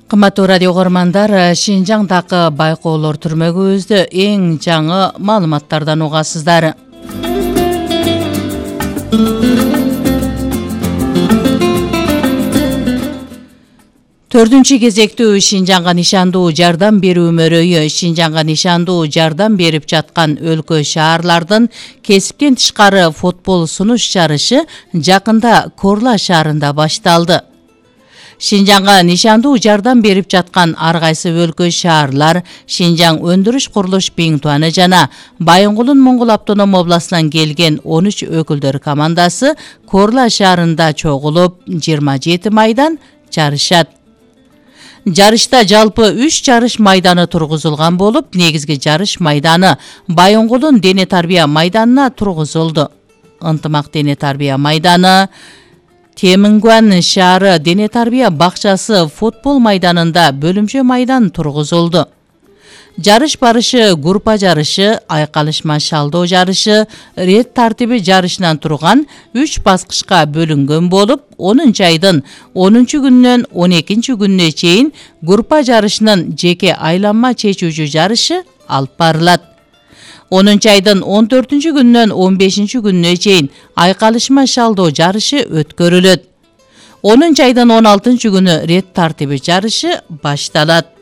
Кымбаттуу радио көрөрмандар, Шинжаңдагы байкоолор түрмөгүбүздө эң жаңы маалыматтардан угасыздар. Төртүнчү кезектүү Шинжаңга нишандуу жардам берүү мөрөйү Шинжаңга нишандуу жардам берип жаткан өлкө шаарлардын кесиптен тышкары футбол сунуш жарышы жакында Корла шаарында башталды. Шинжаңга нишандуу жардам берип жаткан ар кайсы өлкө шаарлар Шинжаң өндүрүш курулуш Биңтуаны жана Байынгулун Моңгол автоном областынан келген 13 өкүлдөр командасы Корла шаарында чогулуп 27 майдан жарышат. Жарышта жалпы 3 жарыш майданы тургузулган болуп, негизги жарыш майданы Байынгулун дене тарбия майданына тургузулду. Ынтымак дене тарбия майданы, Темингуан шаары дене тарбия бакчасы футбол майданында бөлүмчө майдан тургузулду. Жарыш барышы группа жарышы, айкалышма шалдоо жарышы, рет тартиби жарышынан турган 3 баскычка бөлүнгөн болуп, 10 айдын 10 күнүнөн 12 күнүнө чейин группа жарышынын жеке айланма чечүүчү жарышы алып барылат. 10 айдын 14 күнүнөн 15 күнүнө чейин айкалышма шалдоо жарышы өткөрүлөт. 10 айдын 16 күнү рет тартиби жарышы башталат.